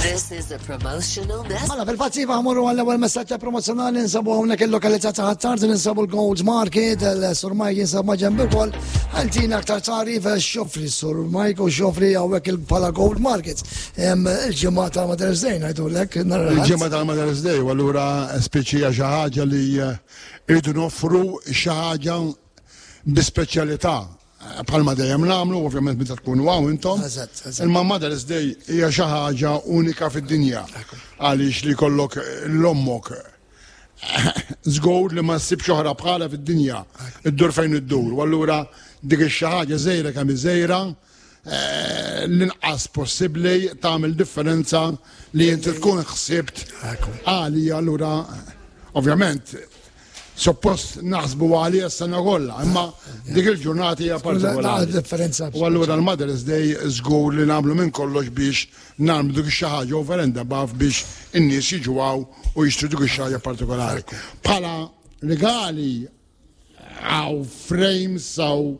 This is a promotional message. Mela, fil-fatt iva ħmorru għall-ewwel messaġġ promozzjonali nsabu hawnhekk il-lokalità ta' Ħattard ninsabu l-Gold Market, il-Sur Mike jinsab ma' ġenb ukoll. Għaltina aktar tarif xofri Sur Mike u xofri hawnhekk il-bħala Gold Market. Il-ġimgħa tal-Mother's Day ngħidulek. Il-ġimgħa tal-Mother's Day u allura speċi xi ħaġa li eh, irridu noffru xi ħaġa bi speċjalità bħalma dejjem nagħmlu, ovvjament meta tkunu hawn intom. Imma Mother's Day hija xi ħaġa unika fid-dinja. Għaliex li kollok l-ommok żgur li ma ssibx oħra bħala fid-dinja. Iddur fejn iddur. U allura dik ix-xi ħaġa żgħira kemm żgħira eh, l-inqas possibbli tagħmel differenza li inti tkun ħsibt għalija allura ovvjament Suppost naħsbu għalija s-sena kollha, imma dik il-ġurnata hija partikolari. Differenza. U allura l-Mother's Day żgur li nagħmlu minn kollox biex nagħmlu dik xi ħaġa over and above biex in-nies jiġu hawn u jixtru dik xi ħaġa partikolari. Bħala regali hawn frames, hawn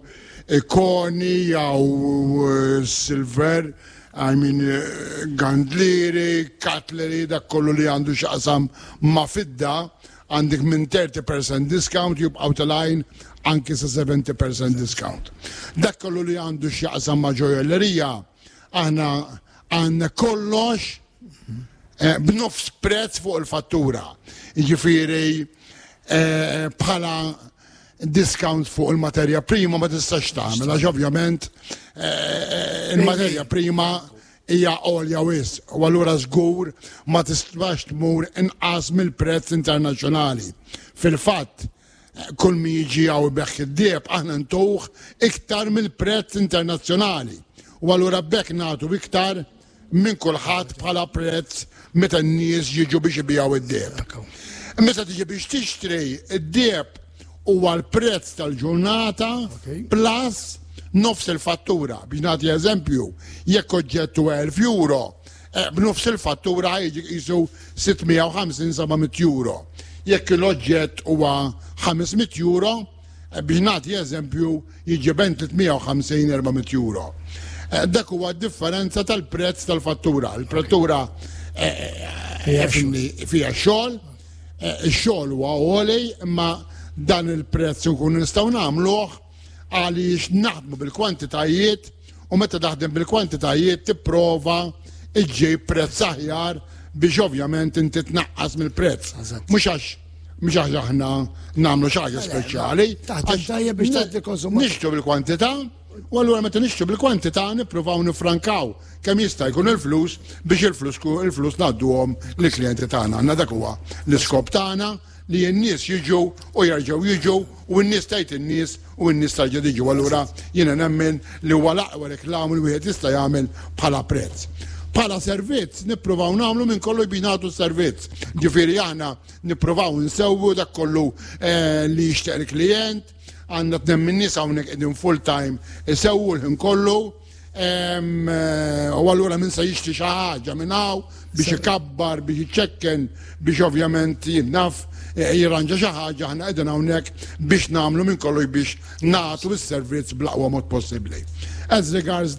ikoni, hawn eh, silver, I mean, eh, gandlieri, cutlery, dak kollu li għandu x'jaqsam ma' fidda Għandek minn 30% discount jibqgħu telgħin anki sa 70% discount. Dak kollu li għandu x'jaqsam ma' ġojjellerija, aħna għandna kollox eh, b'nofs prezz fuq il-fattura. Jiġifieri eh, bħala discount fuq il-materja prima ma tistax tagħmel għax ovvjament eh, il-materja prima hija għolja wisq u allura żgur ma tistax tmur inqas mill-prezz internazzjonali. Fil-fatt, kull min jiġi hawn ibigħ id-deheb aħna ntuh iktar mill-prezz internazzjonali u allura b'hekk nagħtu iktar minn kulħadd bħala prezz meta n-nies jiġu biex ibigħu id-deheb. Meta tiġi biex tixtri id-deheb huwa l-prezz tal-ġurnata plus nofs il-fattura. Biex nagħti eżempju, jekk oġġett huwa 1000 euro, eh, b'nofs il-fattura jiġi qisu 650-700 euro. Jekk l-oġġett huwa 500 euro, eh, biex nagħti eżempju, jiġi bejn 350-400 euro. Eh, dak huwa differenza tal-prezz tal-fattura. Il-fattura fija xogħol, Ix-xogħol huwa għoli imma dan il-prezz nkunu nistgħu nagħmluh għaliex naħdmu bil-kwantitajiet u meta taħdem bil-kwantitajiet tipprova iġġib prezz aħjar biex ovvjament inti tnaqqas mill-prezz. Mhux għax mhux għax aħna nagħmlu xi ħaġa speċjali. Taħdem tajjeb biex tagħti konsumatur. Nixtru bil-kwantità u allura meta nixtru bil-kwantità nippruvaw nifrankaw kemm jista' jkun il-flus biex il-flus il-flus ngħadduhom lill-klijenti tagħna. Għandna dak huwa l-iskop tagħna li n-nies jiġu u jerġgħu jiġu u n-nies tgħid in-nies u n-nies tarġa' tiġi. U allura jiena nemmen li huwa l-aqwa reklam li wieħed jista' jagħmel bħala prezz. Bħala servizz nippruvaw nagħmlu minn kollu biex nagħtu servizz. Ġifieri aħna nippruvaw nsewwu dak kollu eh, li jixtieq il-klijent, għandna tnem minn nies hawnhekk qegħdin full time isewwu l-ħin kollu. Eh, u allura minn se jixtri xi ħaġa minn hawn biex ikabbar, biex iċekken, biex ovvjament jinnaf eh, jirranġa xi ħaġa aħna qegħdin hawnhekk biex nagħmlu minn kollox biex nagħtu s-servizz bl-aqwa mod possibbli. As regards